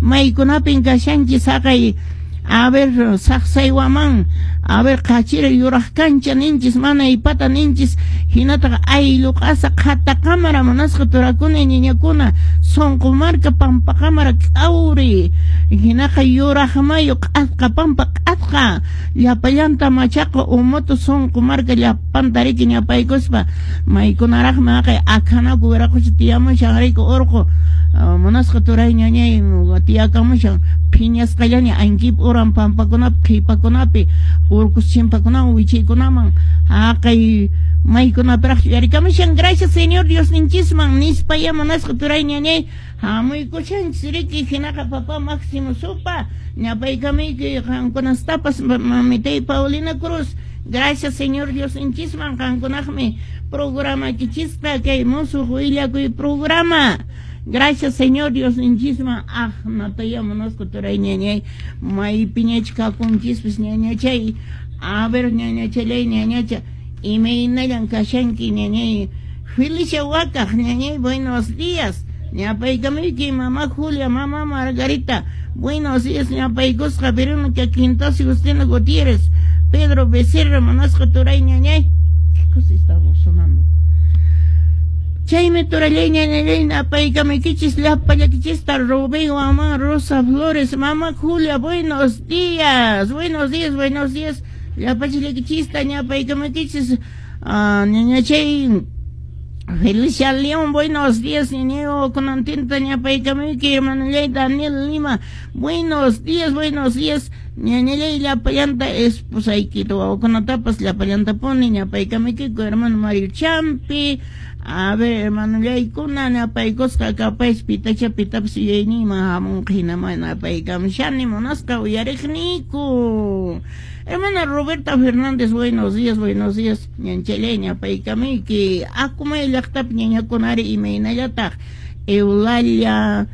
Maykunapin kashanchis haqay, a ver, Saqsaywaman, a ver, qachira yuraq kancha ninchis, mana ipata ninchis, hinataq ayllu q'asa qhata qamara munasqa turakuna ñañakuna, sunqu marka pampa qamara k'awri, hinaqa yuraq mayu q'asqa pampa q'asqa, llapallanta machaqa umutu sunqu marka llapanta riki ñapaykuspa, maykunaraqmi haqay akhanaku wiraqucha tiyamushan riki urqu, munasqa turay ñañay tiyakamushan, phiñasqallaña ankip uran pampakunapi qhipakunapi urqus chimpakunaman wichaykunaman haqay maykunapiraq yuyarikamushan. Gracias Señor Diosninchisman nispa ya munasqa turay ñañay hamuykushanchis riki. Hinaqa papá Máximo Supa ñapaykamuyki qankunastapas, mamitay Paulina Cruz, gracias Señor Diosninchisman qankunaqmi programaykichisqa kay musuq willakuy programa. Gracias Señor Diosninchisman aqnataya munasqa turay ñañay maypiñach kakunchispis ñañachay. A ver, ñañachalay, ñañacha, imaynallan kashanki ñañay Felicia Wakaq ñañay, buenos días ñapaykamuyki. Mamá Julia, mamá Margarita, buenos días ñapaykusqa. Verónica Quintas, Justina Gutiérrez, Pedro Becerra, munasqa turay ñañay. ¿Qué cosa estamos sonando? Chaymi turallay ñañallay napaykamuykichis llapallakichista. Rubén Mamá, Rosa Flores, mamá Julia, buenos días, buenos días, buenos días llapachillakichista ñapaykamuykichis. Ñañachay Felicia León, buenos días, ñañayo kunantinta ñapaykamuyki. Hermanallay Daniel Lima, buenos días, buenos días, ñañallay llapallanta, esposaykita wawakunatapas llapallantapuni ñapaykamuykiku. Hermano Mario Champi, a ver, hermanollaykuna ñapaykusqa kapaysi pitacha pitapas yuyayniyman hamunqa hinama napaykamushani munasqa uyariqniyku. Hermana Roberta Fernández, buenos días, buenos días, ñanchallay ñapaykamuyki. Akumay llaqtapi ñañakunari imaynallataq? Eulalia,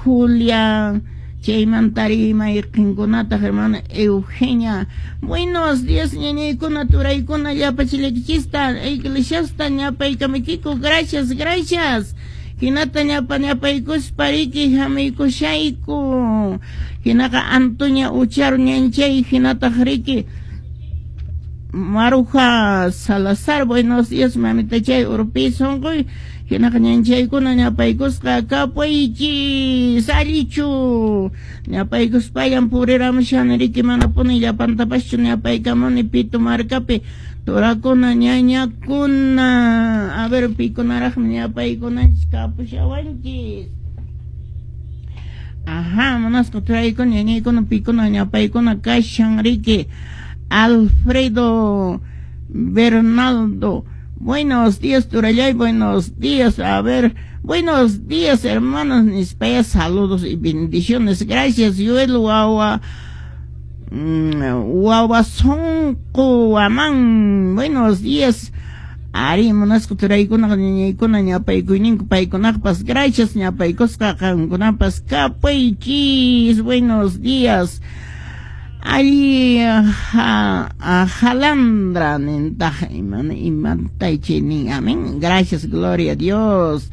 Julia, chaymantari mayqinkunataq? Hermana Eugenia, buenos días, ñañaykuna, turaykuna, llapachillakichista, iglesiasta ñapaykamuykiku. Gracias, gracias. Hinata ñapa ñapaykuspa riki hamuykushayku. Hinaqa Antonia Uchar ñanchay, hinataq riki Maruja Salazar, buenos días, mamitachay urpi sunquy. Hinaqa ñanchaykuna ñapaykusqa kapuychis allichu ñapaykuspallan puriramushani riki, manapuni llapantapaschu ñapaykamuni. Pito markapi turakuna ñañakuna, a ver, pikunaraqmi ñapaykunanchis kapushawanchis? Ajá, munasqa turaykuna ñañaykuna, pikuna ñapaykuna kashan riki? Alfredo Bernaldo, buenos días, turallay, buenos días. A ver, buenos días, hermanos nispaya, saludos y bendiciones. Gracias, Yoel Wawa Wawasonqo Waman, buenos días. Ari munasqa turaykuna ñañaykuna ñapaykuyninku paykunaqpas, gracias ñapaykusqa qankunapas kapuychis, buenos días. Alli jalandra nintaq imantaychi nin, amén, gracias, gloria a Dios.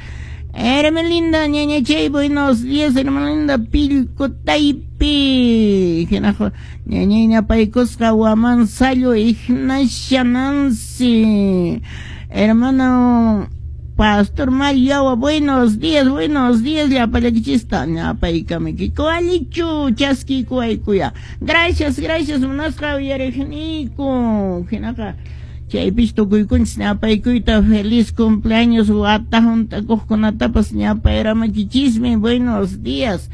Hermelinda ñañachay, buenos días, Hermelinda Pillco Taypi. Hinaqa ñañay ñapaykusqa Waman Sallo, Ignacia Nancy. Hermano Pastor Mariawa, buenos días, buenos días, llapallakichista ñapaykamuykiku allichu chaskikuwaykuya. Gracias, gracias, munasqa uyariqniyku. Hinaqa chaypis tukuykunchis ñapaykuyta feliz cumpleaños wata hunt'akuqkunatapas ñapayramakichismi, buenos días.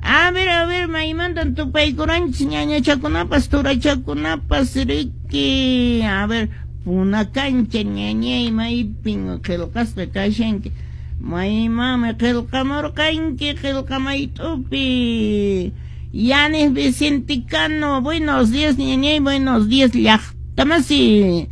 A ver, maymantan tupaykuranchis ñañachakunapas turachakunapas riki? A ver, Punakancha ñañay, maypin qillqasqa kashanki? Maymami qillqamurqanki qillqamayt'upi? Yanis Vicente Cano, buenos días, ñañay, buenos días, llaqtamasi.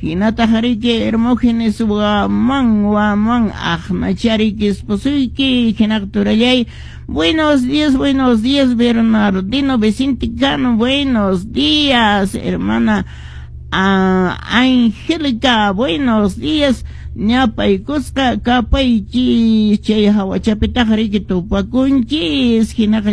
Hinataq riki Hermógenes Waman, Waman aqnachariki esposuyki, hinaq turallay. Buenos días, buenos días, Bernardino Vicente Cano, buenos días, hermana Angélica, buenos días. Ñapaykusqa kapaychis chay hawachapitaq riki tupakunchis hinaqa.